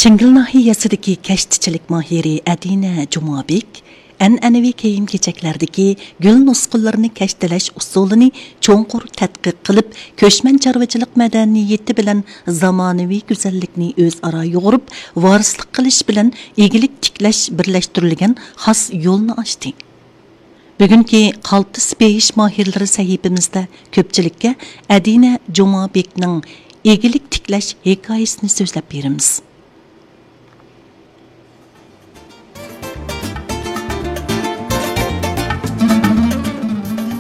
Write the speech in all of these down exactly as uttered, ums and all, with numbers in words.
ئەنگىل ناھىيەسىدىكى كەشتىچىلىك ماھىرى ئەدىنە جۇمابېك ئەنئەنىۋى كىيىم-كېچەكلەردىكى گۈل نۇسخىلىرىنى كەشتىلەش ئۇسۇلىنى چوڭقۇر تەتقىق قىلىپ، كۆچمەن چارۋىچىلىق مەدەنىيىتى بىلەن زامانىۋى گۈزەللىكنى ئۆزئارا يۇغۇرۇپ، ۋارىسلىق قىلىش بىلەن ئىگىلىك تىكلەش بىرلەشتۈرۈلگەن خاس يولنى ئاچتى. بۈگۈنكى قالتىس بېيىش ماھىرلىرى سەھىپىمىزدە كۆپچىلىككە ئەدىنە جۇمابېكنىڭ ئىگىلىك تىكلەش ھېكايىسىنى سۆزلەپ بېرىمىز.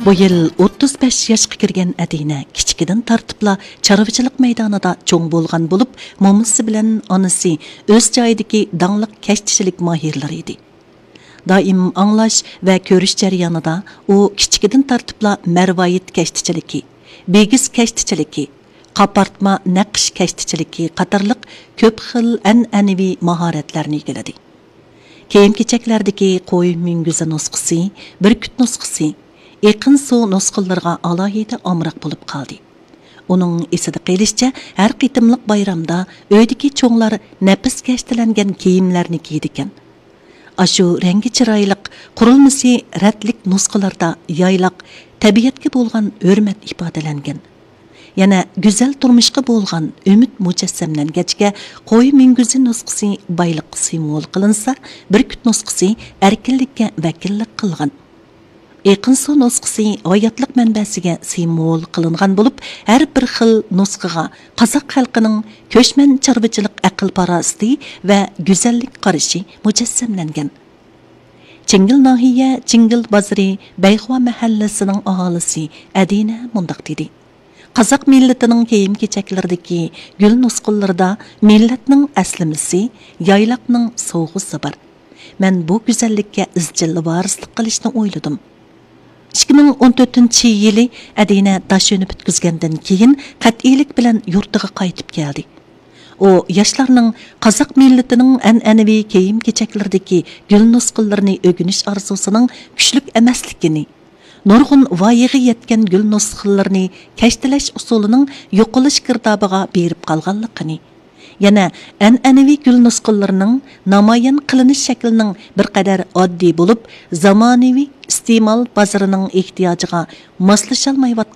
بۇ يىل ئوتتۇز بەش ياشقا كىرگەن ئەدىنە كىچىكىدىن تارتىپلا چارۋىچىلىق مەيدانىدا چوڭ بولغان بولۇپ، مومىسى بىلەن ئانىسى ئۆز جايىدىكى داڭلىق كەشتىچىلىك ماھىرلىرى ئىدى. دائىم ئاڭلاش ۋە كۆرۈش جەريانىدا ئۇ كىچىكىدىن تارتىپلا مەرۋايىت كەشتىچىلىكى، بىگىز كەشتىچىلىكى، قاپارتما نەقىش كەشتىچىلىكى قاتارلىق كۆپ خىل ئەنئەنىۋى ماھارەتلەرنى ئىگىلىدى. كىيىم-كېچەكلەردىكى قوي مۈڭگۈزى نۇسخىسى، بۈركۈت نۇسخىسى، ئېقىن سۇ نۇسخىلىرىغا ئالاھىدە ئامراق بولۇپ قالدى. ئۇنىڭ ئېسىدە قېلىشىچە، ھەر قېتىملىق بايرامدا ئۆيدىكى چوڭلار نەپىس كەشتىلەنگەن كىيىملەرنى كىيىدىكەن. ئاشۇ رەڭگى چىرايلىق، قۇرۇلمىسى رەتلىك نۇسخىلاردا يايلاق تەبىئەتكە بولغان ھۆرمەت ئىپادىلەنگەن. يەنە گۈزەل تۇرمۇشقا بولغان ئۈمىد مۇجەسسەملەنگەچكە، قوي مۈڭگۈزى نۇسخىسى بايلىققا سىمۋول قىلىنسا، بۈركۈت نۇسخىسى ئەركىنلىككە ۋەكىللىك قىلغان. ئېقىن سۇ نۇسخىسى ھاياتلىق مەنبەسىگە سىمۋول قىلىنغان بولۇپ، ھەر بىر خىل نۇسخىغا قازاق خەلقىنىڭ كۆچمەن چارۋىچىلىق ئەقىل-پاراسىتى ۋە گۈزەللىك قارىشى مۇجەسسەملەنگەن. چىڭگىل ناھىيە چىڭگىل بازىرى بەيخۇا مەھەللىسىنىڭ ئاھالىسى ئەدىنە مۇنداق دېدى: قازاق مىللىتىنىڭ كىيىم-كېچەكلىرىدىكى گۈل نۇسخىلىرىدا مىللەتنىڭ ئەسلىمىسى، يايلاقنىڭ سوۋغىسى بار. مەن بۇ گۈزەللىككە ئىزچىل ۋارىسلىق قىلىشنى ئويلىدىم. ئىككى مىڭ ئون تۆتىنچى يىلى ئەدىنە داشۆنى پۈتكۈزگەندىن كېيىن، قەتئىيلىك بىلەن يۇرتىغا قايتىپ كەلدى. ئۇ ياشلارنىڭ قازاق مىللىتىنىڭ ئەنئەنىۋى كىيىم-كېچەكلىرىدىكى گۈل نۇسخىلىرىنى ئۆگىنىش ئارزۇسىنىڭ كۈچلۈك ئەمەسلىكىنى، نۇرغۇن ۋايىغا يەتكەن گۈل نۇسخىلىرىنى كەشتىلەش ئۇسۇلىنىڭ يوقىلىش گىردابىغا بېرىپ قالغانلىقىنى، يەنە ئەنئەنىۋى گۈل نۇسخىلىرىنىڭ نامايان قىلىنىش شەكلىنىڭ بىر قەدەر ئاددىي بولۇپ، زامانىۋى ئىستېمال بازىرىنىڭ ئېھتىياجىغا ماسلىشالمايۋاتقان